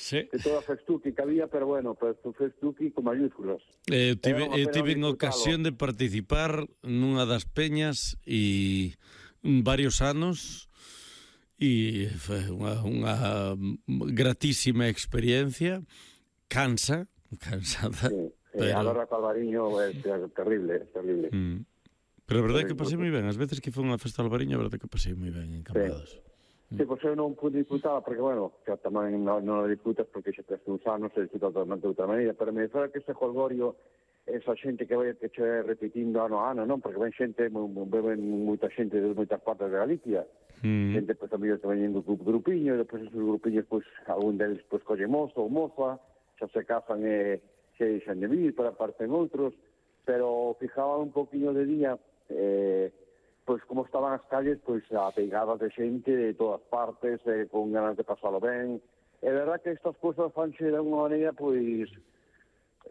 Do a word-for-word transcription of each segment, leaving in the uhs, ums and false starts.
sí. de toda a festuqui que había, pero bueno, pues festuqui con mayúsculas. Eh, tive, eh, tive en ocasión de participar nunha das peñas e varios anos e foi unha, unha gratísima experiencia. Cansa, cansada. Sí, sí, pero... a Lorra Calvariño é terrible, é terrible. Mm. Pero a verdade é que pasei moi ben. As veces que foi unha festa de Albariño, a verdade é que pasei moi ben en Cambados. Sí, pois eu non pude disfrutar, porque, bueno, xa tamén non, non disfrutas porque xa tes uns anos, se disfruta totalmente de outra maneira, pero me fora que ese jolgorio, esa xente que vai que che repetindo ano a ano, non? Porque ven xente, ven moita xente de moitas partes de Galicia, mm. xente, pois, amigos que veñen do grupiño, e depois esos grupiños, pois, algún deles, pois, colle mozo ou moza, xa se casan e se deixan de vir, para parten outros, pero fijaba un poquinho de día, eh, pois como estaban as calles, pois apeigadas de xente de todas partes, eh, con ganas de pasalo ben. É verdad que estas cousas fanse de alguma maneira, pois,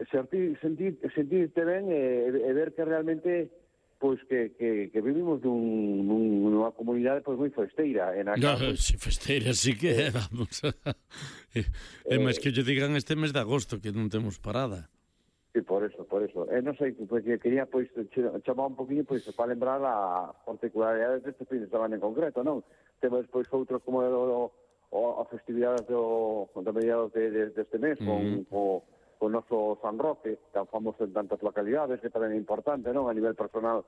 sentir, sentir, sentirte ben e, e ver que realmente, pois, que, que, que vivimos dun, dun, nunha comunidade, pois, moi festeira. En no, pois, si festeira, sí que é, vamos. é, é máis que lle digan este mes de agosto, que non temos parada. Sí, por eso, por eso. Eh, non sei, porque quería, pois, chamar un poquinho, pois, para lembrar a particularidades deste fin de semana en concreto, non? Temos, pois, outros como o, o, a festividades do, do mediados de, de, deste mes, con, mm. con, con o noso San Roque, tan famoso en tantas localidades, que tamén é importante, non? A nivel personal,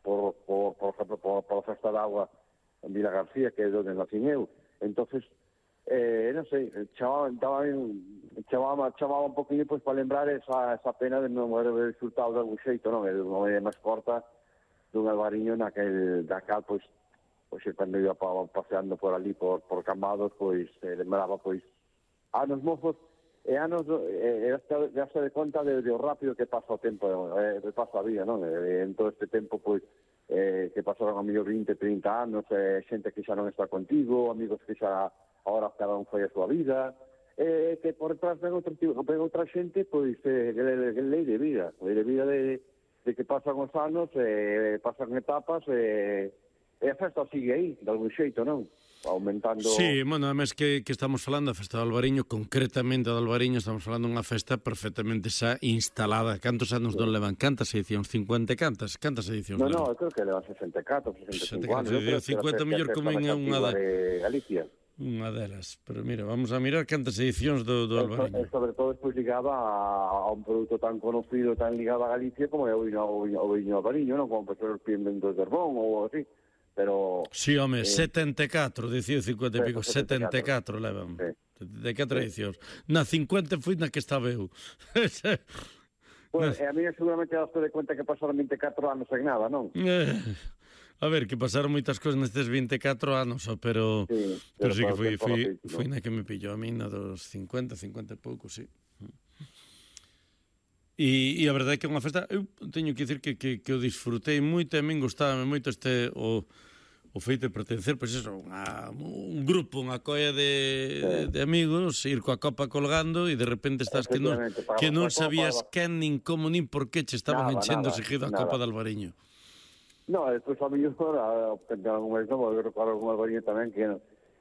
por, por, por exemplo, por, por a Festa de Agua en Vila García, que é onde nacín eu. Entonces, eh, non sei, chamaba, chamaba, chamaba un poquinho, pois, para lembrar esa, esa pena de non haber disfrutado de algún xeito, non? É unha media máis corta dun albariño naquel, dacal, pois, pois, cando iba pa, paseando por ali, por, por Cambados, pois, eh, lembraba, pois, anos mozos, e anos, e, e hasta de conta de, de o rápido que pasa o tempo, eh, que pasa a vida, non? E, en todo este tempo, pois, eh, que pasaron amigos vinte, trinta anos, eh, xente que xa non está contigo, amigos que xa ahora cada un foi a súa vida, eh, que por detrás ven outra, ven outra xente, pois, eh, que lei de vida, lei de vida de, de que pasan os anos, eh, pasan etapas, eh, e a festa sigue aí, de algún xeito, non? Aumentando... Sí, bueno, además que, que estamos falando da festa de Albariño, concretamente de Albariño, estamos falando dunha festa perfectamente xa instalada. Cantos anos sí. non levan? Cantas edicións? cincuenta cantas? Cantas edicións no, levan? No, no, creo que levan sesenta e catro, sesenta e cinco anos. cincuenta mellor como en unha de Galicia. Unha delas, pero mira, vamos a mirar cantas edicións do, do Albariño. E sobre todo despois ligada a, a un produto tan conocido, tan ligado a Galicia como é o viño, o viño, o viño Albariño, non? Como por exemplo de Herbón ou así. Pero... Sí, home, eh, setenta e catro, dicía cincuenta e pico, setenta e catro levan, sí. setenta e catro edicións. Na cincuenta foi na que estaba eu. Bueno, e a mí seguramente daste de cuenta que pasaron vinte e catro anos en nada, non? Eh, a ver, que pasaron moitas cousas nestes vinte e catro anos, pero sí, pero, pero sí que foi, foi, foi na que me pillou a mí, na dos cincuenta, cincuenta e pouco, sí. E, e a verdade é que é unha festa, eu teño que dicir que, que, que o disfrutei moito, e a min gustaba moito este o, o feito de pertencer, pois eso, unha, un grupo, unha colla de, sí. de, de amigos, ir coa copa colgando e de repente estás que non, que non sabías quen, nin como, nin por que che estaban nada, enchendo nada, seguido a nada. Copa de Albariño. No, despois a mellor, algún mes non, eu recordo algún Albariño tamén que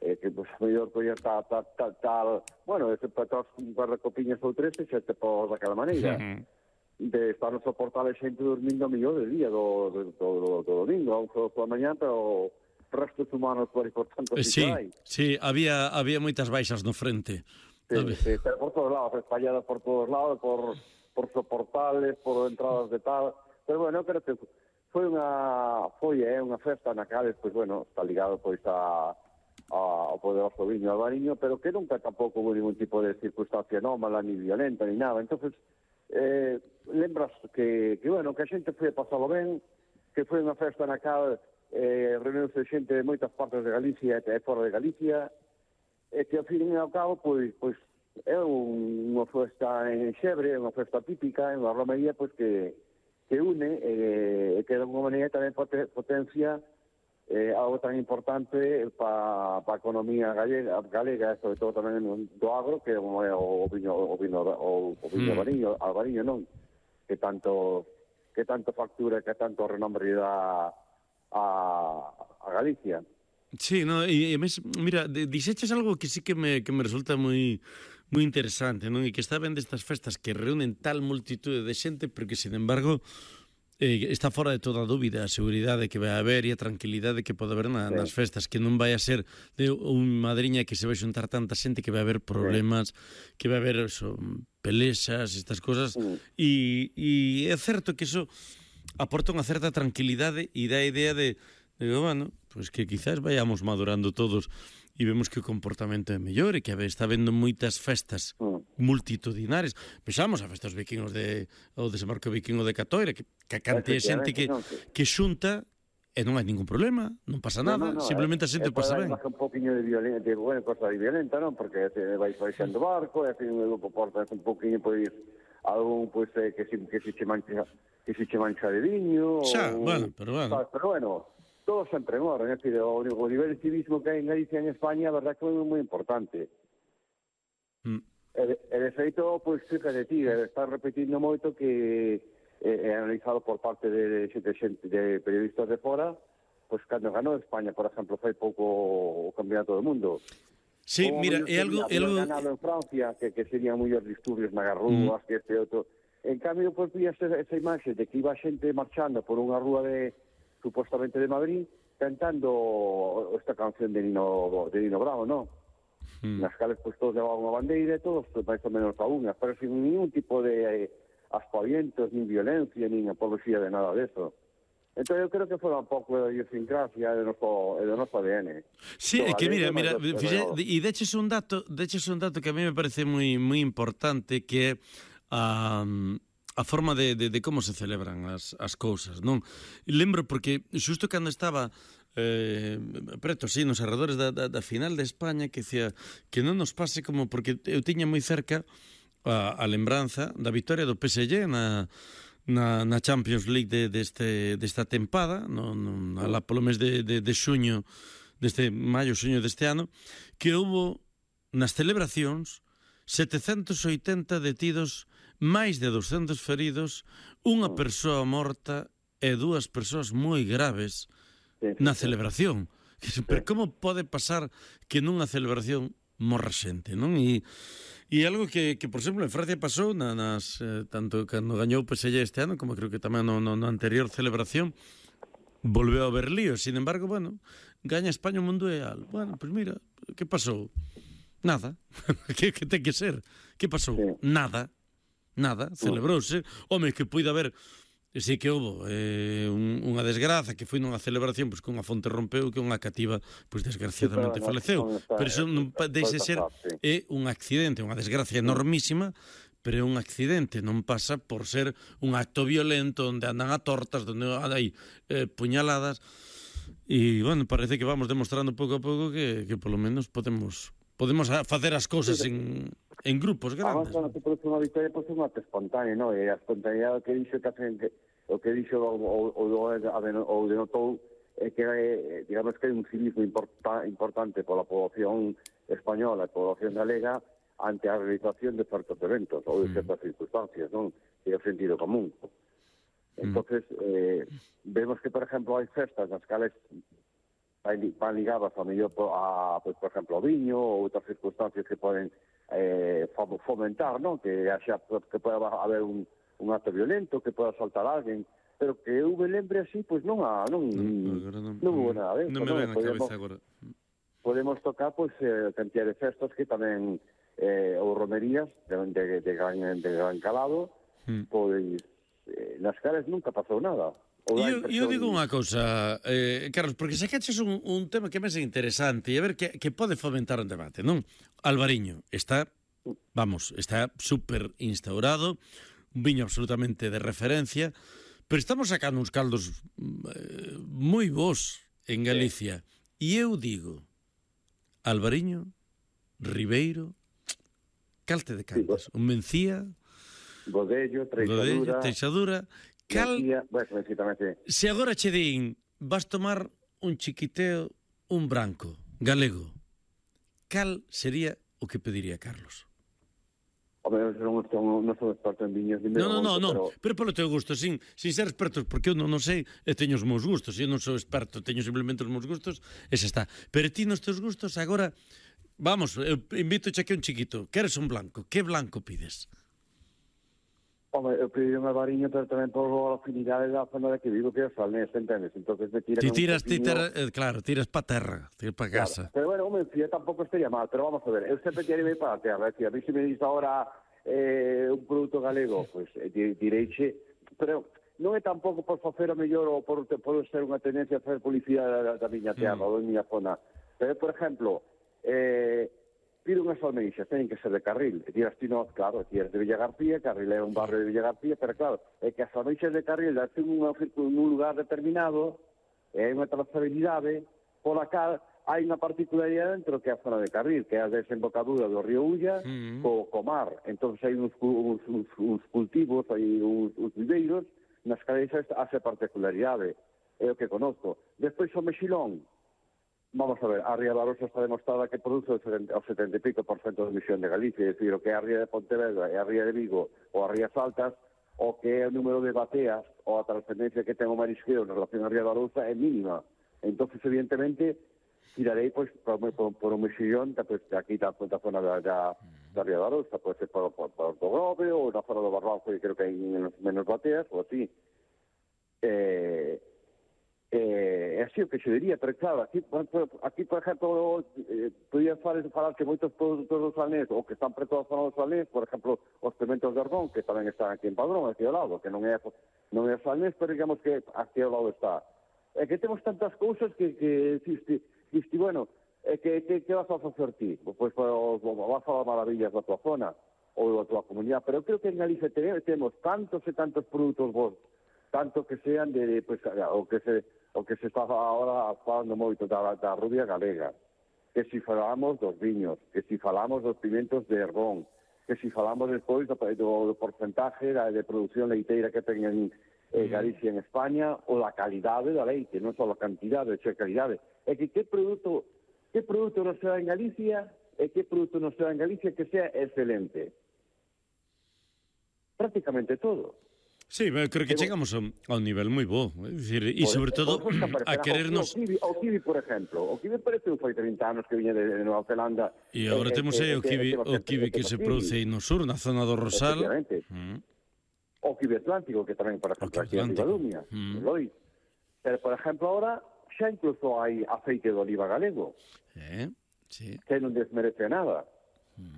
eh, que pues, a mellor colla tal, tal, tal, tal, bueno, ese para todas un par de copiñas ou tres, e xa te pos daquela maneira. Uh-huh. De estar no soportar a xente dormindo a millón de día do, do, do, do, do domingo, a un só pola mañá, pero restos humanos por tanto sí, sí, sí, había, había moitas baixas no frente. Sí, sí, pero por todos lados, espalladas por todos lados, por, por soportales, por entradas de tal, pero bueno, creo que foi unha foi é unha festa na cal, pois bueno, está ligado pois a ao poderoso viño albariño, pero que nunca tampouco hubo ningún tipo de circunstancia anómala, ni violenta, ni nada. Entonces, eh, lembras que, que, bueno, que a xente foi a pasalo ben, que foi unha festa na cal eh, reuniuse xente de moitas partes de Galicia e fora de Galicia, e que ao fin e ao cabo, pois, pois é un, unha festa en Xebre, unha festa típica, unha romería, pois que, que une, e eh, que de alguma maneira tamén potencia eh, algo tan importante para pa a economía galega, galega, sobre todo tamén do agro, que é o viño o viño o, o viño mm. albariño, albariño non, que tanto que tanto factura, que tanto renombre dá a, a Galicia. Sí, no, e, e mes, mira, dixeches algo que sí que me, que me resulta moi moi interesante, non? E que está ben destas festas que reúnen tal multitude de xente, pero que, sin embargo, eh, está fora de toda dúbida a seguridade que vai haber e a tranquilidade que pode haber na, Sí. nas festas, que non vai a ser de un madriña que se vai xuntar tanta xente que vai haber problemas, que vai haber eso, pelexas, estas cosas, Mm. e, e é certo que eso aporta unha certa tranquilidade e dá a idea de, de bueno, pues que quizás vayamos madurando todos e vemos que o comportamento é mellor e que a ver, está vendo moitas festas Mm. multitudinarias. Pensamos a festas vikingos de o desembarco vikingo de Catoira, que, que a cantidad de xente que, Efectivamente, non, que- que xunta e non hai ningún problema, non pasa No, nada, no, no, simplemente a eh, xente eh, pasa pode ben. haber un poquinho de violenta, de bueno, cosa de violenta, non? Porque se vai baixando barco, e así un grupo porta un poquinho pois algún pois eh, que se que se che mancha que se che mancha de viño, Xa, ou- bueno, pero bueno. sabes, pero bueno, todo sempre en orden, é dicir, o, o nivel de civismo que hai en Galicia e en España, a verdad que é moi importante. Mm. E de, e de feito, pois, fíjate ti, está repetindo moito que é, é analizado por parte de, de, de, xente- de periodistas de fora, pois cando ganou España, por exemplo, foi pouco o campeonato do mundo. Sí, Como mira, mellor é algo, é sería algo haber ganado en Francia, que, que serían mellores disturbios nas rúas, mm. que este outro. En cambio, pois, vías esa, esa imaxe de que iba xente marchando por unha rúa de, supuestamente de Madrid, cantando esta canción de Nino, de Nino Bravo, ¿no? Mm. Nas cales, pois, todos levaban unha bandeira e todos, máis ou menos a unha, pero sin ningún tipo de eh, aspavientos, nin violencia, nin apología de nada deso. Entón, eu creo que foi un pouco de idiosincrasia do noso, do noso A D N. Sí, é Do que mira, galego, mira, mas do- fixe, do- e deches un dato, deches un dato que a mí me parece moi moi importante, que é a a forma de, de, de como se celebran as, as cousas, non? Lembro porque xusto cando estaba eh, preto, sí, nos arredores da, da, da final de España, que decía que non nos pase como, porque eu tiña moi cerca a, a lembranza da victoria do P S G na, na, na Champions League de, deste, desta tempada, no, no, alá polo mes de, de, de xuño, deste maio, xuño deste ano, que houbo nas celebracións setecentos e oitenta detidos, máis de doscentos feridos, unha persoa morta e dúas persoas moi graves Sí, sí, na sí. celebración. Pero como pode pasar que nunha celebración morra xente, non? E, e algo que, que, por exemplo, en Francia pasou na, nas, eh, tanto cando gañou o P S G este ano, como creo que tamén no, no, no anterior celebración, volveu a haber lío. Sin embargo, bueno, gaña España o mundial. Bueno, pues mira, que pasou? Nada. que, que ten que ser? Que pasou? Sí. Nada. Nada. Celebrouse. Home, que puide haber... Sí que houve eh, un, unha desgraza que foi nunha celebración pois, que unha fonte rompeu que unha cativa pois, desgraciadamente Sí, pero faleceu. non está- Pero iso non pa- deixe ser pasar, sí. é un accidente, unha desgracia enormísima, pero é un accidente, non pasa por ser un acto violento onde andan a tortas, onde hai eh, puñaladas. E, bueno, parece que vamos demostrando pouco a pouco que, que polo menos podemos podemos a- facer as cousas en, en grupos Además, grandes. cando te produce unha victoria, pois é un acto espontáneo, non? E a espontaneidade que dixo que hacen que o que dixo o, o, o, o denotou é que eh, digamos que hai un civismo importa, importante pola población española e población galega ante a realización de certos eventos ou de certas circunstancias, non? Que é o sentido común. Entonces, eh, vemos que, por exemplo, hai festas nas cales van ligadas a mellor a, pues, por exemplo, ao viño ou outras circunstancias que poden eh, fomentar, non? Que haxa, que poda haber un, un acto violento, que poda saltar alguén, pero que eu me lembre así, pois non ha, non, non, non hubo nada de eso, non me ven a podemos, cabeza agora. podemos tocar pois eh, cantidad de festas que tamén eh, ou romerías de, de, de, gran, de gran calado, Mm. pois eh, nas caras nunca pasou nada. Ou dá E eu, impresión- eu digo unha cousa, eh, Carlos, porque sacaches un, un tema que me é interesante e a ver que, que pode fomentar un debate, non? Alvariño está, vamos, está super instaurado, un viño absolutamente de referencia, pero estamos sacando uns caldos eh, moi bons en Galicia. E eu digo, Alvariño, Ribeiro, calte de cantas, un Mencía, Godello, Godello, Treixadura, Teixadura, cal... Mencía, bueno, Mencía tamén, sí. Se agora che din, vas tomar un chiquiteo, un branco, galego, cal sería o que pediría Carlos? Home, eu non, non, non son experto en viños, ni Non, non, non, non, pero... pero polo teu gusto, sin, sin ser expertos, porque eu non, non sei, e teño os meus gustos, eu non sou experto, teño simplemente os meus gustos, e xa está. Pero ti nos teus gustos, agora, Vamos, eu invito a que un chiquito. Queres un blanco? Que blanco pides? Home, eu pedi unha variña, pero tamén por a afinidade da zona de que vivo, que é o Salnés, entendes? Entonces me tiran Ti un tiras, ti poquinho... terra, eh, claro, tiras pa terra, tiras pa Claro. casa. Pero bueno, home, fío, tampouco estaría mal, pero vamos a ver, eu sempre quero ir para a terra, é dicir, a mí se me diz ahora eh, un produto galego, pois pues, eh, direiche, pero non é tampouco por facer o mellor ou por, por ser unha tendencia a facer publicidade da, da miña terra, mm. ou da miña zona, pero, por exemplo, eh, pido unhas almeixas, teñen que ser de Carril. E tiras ti no, claro, ti eres de Villa García, Carril é un barrio de Villa García, pero claro, é que as almeixas de Carril darte un, un lugar determinado, é unha trazabilidade pola cal hai unha particularidade dentro que é a zona de Carril, que é a desembocadura do río Ulla mm. co, co mar. Entón hai uns, uns, uns, uns cultivos, hai uns, uns viveiros, nas que hace particularidade. É o que conozco. Despois o mexilón. Vamos a ver, a Ría da Arosa está demostrada que produce o setenta e pico por cento de emisión de Galicia, é dicir, o que é a Ría de Pontevedra e a Ría de Vigo ou as Rías Altas, o que é o número de bateas ou a trascendencia que ten o marisqueo en relación a Ría da Arosa é mínima. Entón, evidentemente, tirarei pois, por, por, por un mexillón pues, aquí da, da zona da, da, da Ría da Arosa, pode ser por, por, por Porto Grove ou na zona do Barranco, que creo que hai menos, menos bateas, ou así. Eh... Eh, é así o que se diría, pero claro, aquí, aquí por exemplo, eh, podía falar, falar que moitos produtos do Salnés, ou que están preto da zona do Salnés, por exemplo, os pimentos de Argón, que tamén están aquí en Padrón, aquí ao lado, que non é, non é Salnés, pero digamos que aquí ao lado está. É que temos tantas cousas que, que diste, diste, bueno, é que, que, que vas a facer ti? Pois pues, vas a falar maravillas da tua zona, ou da tua comunidade, pero creo que en Galicia temos tantos e tantos produtos bons, tanto que sean de, pues, o que se o que se está agora falando moito da, da rubia galega, que si falamos dos viños, que si falamos dos pimentos de Ergón, que si falamos despois do, do, do porcentaje da, de produción leiteira que ten en eh, Galicia en España, ou a calidade da leite, non só a cantidade, xa a calidade. É que que produto, que produto nos se dá en Galicia e que produto nos se dá en Galicia que sea excelente. Prácticamente todo. Sí, creo que chegamos a un nivel moi bo, é dicir, e sobre todo a querernos... O kiwi, o kiwi, por exemplo, o kiwi parece un foi trinta anos que viña de Nova Zelanda. E agora temos aí o kiwi, o kiwi que se produce aí no sur, na zona do Rosal. O kiwi atlántico, que tamén, por exemplo, aquí en Ribadumia, Lois. Pero, por exemplo, ahora xa incluso hai aceite de oliva galego, que non desmerece nada.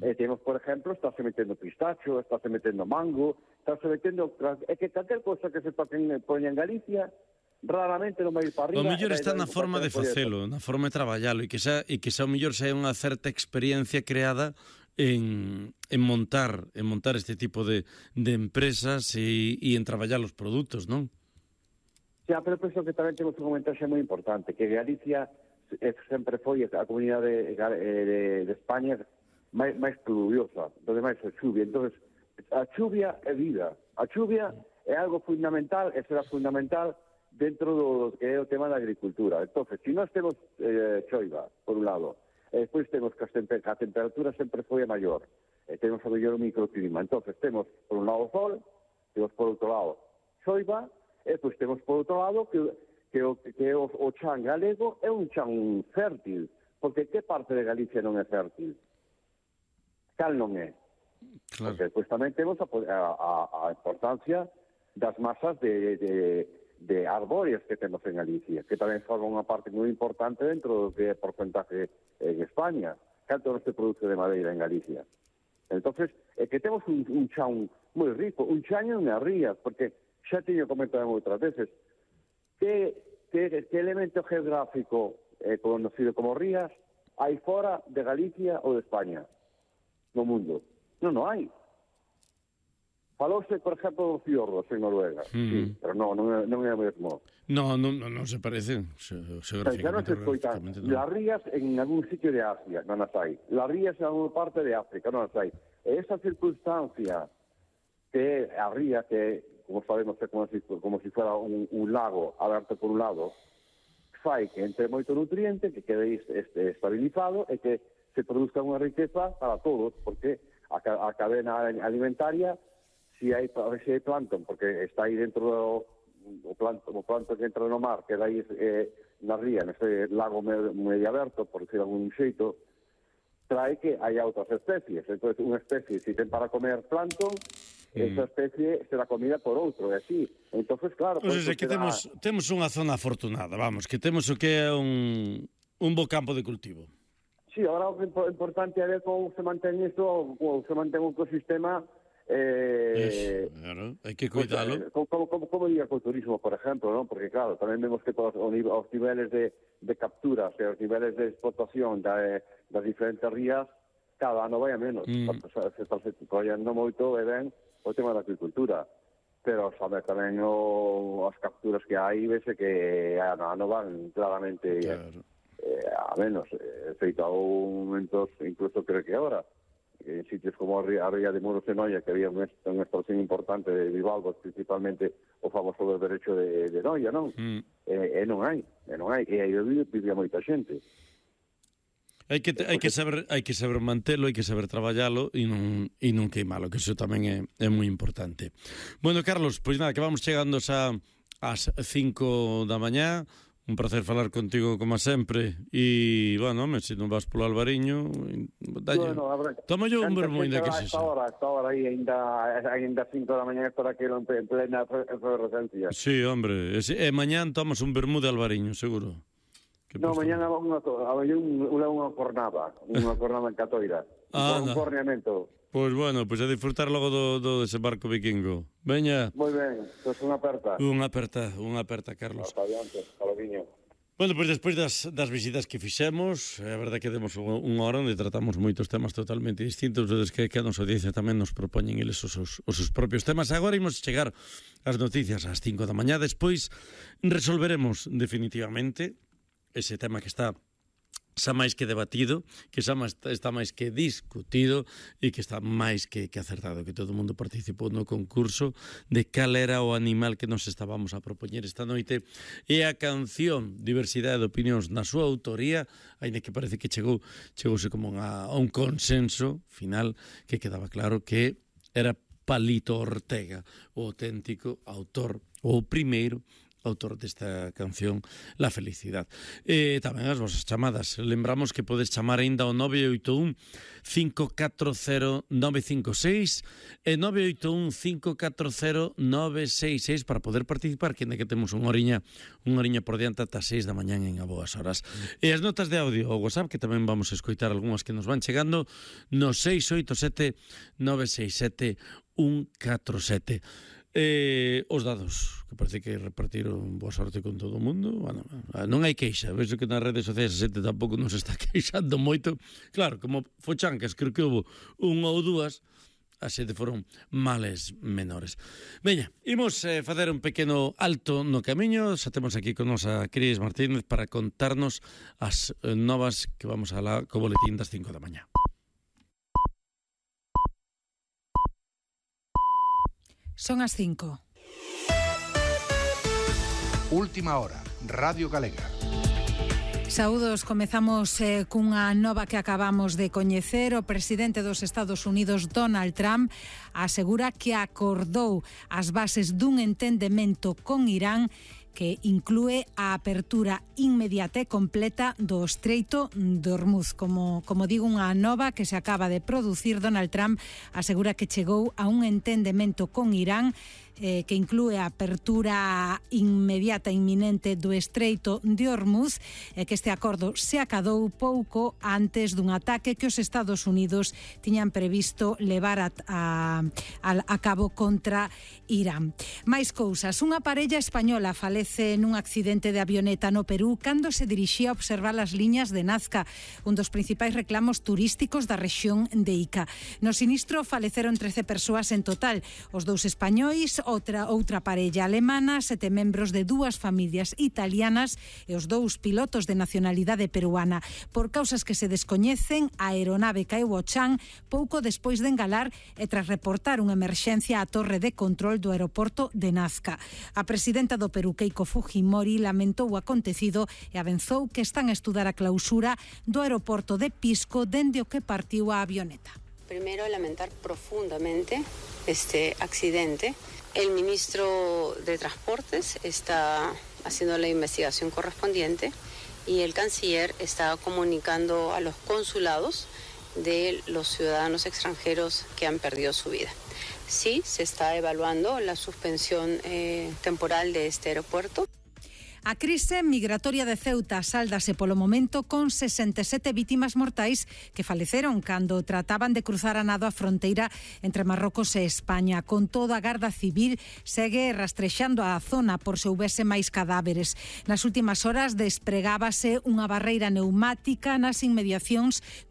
E temos, por exemplo, estáse metendo pistacho, estáse metendo mango, estáse metendo... É que calquer cosa que se poña en Galicia, raramente non vai ir para arriba... O mellor está na forma de facelo, na forma de traballalo, e que xa, e que xa o mellor xa é unha certa experiencia creada en, en montar en montar este tipo de, de empresas e, e en traballar os produtos, non? Xa, pero penso que tamén temos un comentario moi importante, que Galicia sempre foi a comunidade de, de, de España máis, máis pluviosa, donde máis a chuvia. Entonces, a chuvia é vida. A chuvia é algo fundamental, e será fundamental dentro do que é o tema da agricultura. Entonces, se si nós temos eh, choiva, por un lado, e despois temos que a, temper a temperatura sempre foi a maior, e temos a mellor microclima. Entonces, temos por un lado o sol, temos por outro lado choiva, e despois temos por outro lado que, que, o, que o, o chan galego é un chan fértil, porque que parte de Galicia non é fértil? Cal non é? Claro. Porque despois tamén temos a, a, a importancia das masas de, de, de arbóreas que temos en Galicia, que tamén forman unha parte moi importante dentro do que é porcentaje en España. Canto non se produce de madeira en Galicia. Entonces, é que temos un, un chan moi rico, un chan e unhas rías, porque xa teño comentado outras veces, que, que, que elemento geográfico eh, conocido como rías hai fora de Galicia ou de España? No mundo. Non, non hai. Falouse, por exemplo, dos fiordos en Noruega. Mm. Sí, pero non, non, é, non é o mesmo. No, non, non, non se parece. Xa non se escoitan. No. Las rías en algún sitio de Asia, non as hai. Las rías en alguna parte de África, non as hai. E esa circunstancia que a ría, que, como sabemos, é como si, como si fuera un, un lago aberto por un lado, fai que entre moito nutriente, que quede este, estabilizado e que se produzca unha riqueza para todos, porque a, a cadena alimentaria, si hai, si hai plancton, porque está aí dentro do o plancton, o plancton que entra no mar, que aí eh, na ría, nese lago medio aberto, por decir algún xeito, trae que hai outras especies. Entón, unha especie, se ten para comer plancton, mm. esa especie será comida por outro, e así. Entón, claro... Pois é, que temos, temos unha zona afortunada, vamos, que temos o que é un, un bo campo de cultivo. Sí, ahora o importante é ver como se mantén isto, como se mantén o ecosistema. Eh, Eso, claro, hai que cuidalo. Pues, como, como, como diga co turismo, por exemplo, ¿no? Porque claro, tamén vemos que todos os, os niveles de, de capturas e os niveles de explotación da, das diferentes rías cada ano vai a menos. Mm. Se está se collendo moito e ben o tema da agricultura, pero sabe tamén o, as capturas que hai, vese que ano ano van claramente claro. eh, a menos. Eh, feito a un momento, incluso creo que ahora, en sitios como a Ría de Muros de Noia, que había unha extracción importante de bivalvos, principalmente o famoso berberecho de, de Noia, non? Mm. E, e non hai, e non hai, e aí vivía moita xente. Hai que, hai que saber, hai que saber mantelo, hai que saber traballalo e non, e non queimalo, que iso tamén é, é moi importante. Bueno, Carlos, pois nada, que vamos chegando xa ás cinco da mañá. Un placer falar contigo como sempre. E, bueno, home, se non vas polo Albariño, dalle... Bueno, toma yo un vermú, ainda que se xa. Esta hora, esta hora aí, ainda, ainda cinco da mañá, para que non en plena efervescencia. Sí, hombre. E, e mañán tomas un vermú de Albariño, seguro. No, mañán hago unha, unha, unha cornada, unha cornada en Catoira. Ah, un no. corneamento. Pois bueno, pois a disfrutar logo do, do desembarco vikingo. Veña. Moi ben, pois unha aperta. Unha aperta, unha aperta, Carlos. Hasta adiante, hasta loguiño. Bueno, pois despois das, das visitas que fixemos, é verdade que demos unha hora onde tratamos moitos temas totalmente distintos, desde que, que a nosa audiencia tamén nos propoñen eles os seus, os seus propios temas. Agora imos chegar ás noticias ás cinco da mañá, despois resolveremos definitivamente ese tema que está xa máis que debatido, que xa está máis que discutido e que está máis que, que acertado, que todo o mundo participou no concurso de cal era o animal que nos estábamos a propoñer esta noite, e a canción Diversidade de Opinións na súa autoría, aínda que parece que chegou chegouse como a, a un consenso final que quedaba claro que era Palito Ortega, o auténtico autor, o primeiro autor desta canción, La Felicidad. E tamén as vosas chamadas. Lembramos que podes chamar aínda ao nove oito un, cinco catro cero, nove cinco seis e nove oito un, cinco catro cero, nove seis seis para poder participar, que ainda que temos unha oriña, unha oriña por diante ata seis da mañán en a boas horas. E as notas de audio ao WhatsApp, que tamén vamos a escoitar algunhas que nos van chegando, no seis oito sete, nove seis sete, un catro sete. Eh, os dados, que parece que repartiron boa sorte con todo o mundo. Bueno, non hai queixa, vexo que nas redes sociais a xente tampouco non se está queixando moito. Claro, como fochancas, creo que houve unha ou dúas, a xente foron males menores. Veña, imos eh, facer un pequeno alto no camiño. Xa temos aquí con nosa Cris Martínez para contarnos as eh, novas que vamos a la co boletín das cinco da mañá. Son as cinco. Última hora, Radio Galega. Saúdos, comezamos eh, cunha nova que acabamos de coñecer. O presidente dos Estados Unidos, Donald Trump, asegura que acordou as bases dun entendemento con Irán que inclúe a apertura inmediata e completa do Estreito de Hormuz. Como, como digo, unha nova que se acaba de producir. Donald Trump asegura que chegou a un entendemento con Irán eh, que inclúe a apertura inmediata e inminente do Estreito de Hormuz, e que este acordo se acadou pouco antes dun ataque que os Estados Unidos tiñan previsto levar a, a, a cabo contra Irán. Mais cousas. Unha parella española falece nun accidente de avioneta no Perú cando se dirixía a observar as liñas de Nazca, un dos principais reclamos turísticos da rexión de Ica. No sinistro faleceron trece persoas en total, os dous españois, outra outra parella alemana, sete membros de dúas familias italianas e os dous pilotos de nacionalidade peruana. Por causas que se descoñecen, a aeronave caeu ao chan pouco despois de engalar e tras reportar unha emerxencia á torre de control do aeroporto de Nazca. A presidenta do Perú, Keiko Fujimori, lamentou o acontecido e avanzou que están a estudar a clausura do aeroporto de Pisco dende o que partiu a avioneta. Primero, lamentar profundamente este accidente. El ministro de Transportes está haciendo la investigación correspondiente y el canciller está comunicando a los consulados de los ciudadanos extranjeros que han perdido su vida. Sí, se está evaluando la suspensión eh, temporal de este aeropuerto. A crise migratoria de Ceuta sáldase polo momento con sesenta e sete vítimas mortais que faleceron cando trataban de cruzar a nado a fronteira entre Marrocos e España. Con todo, a Garda Civil segue rastrexando a zona por se houvese máis cadáveres. Nas últimas horas despregábase unha barreira neumática nas inmediacións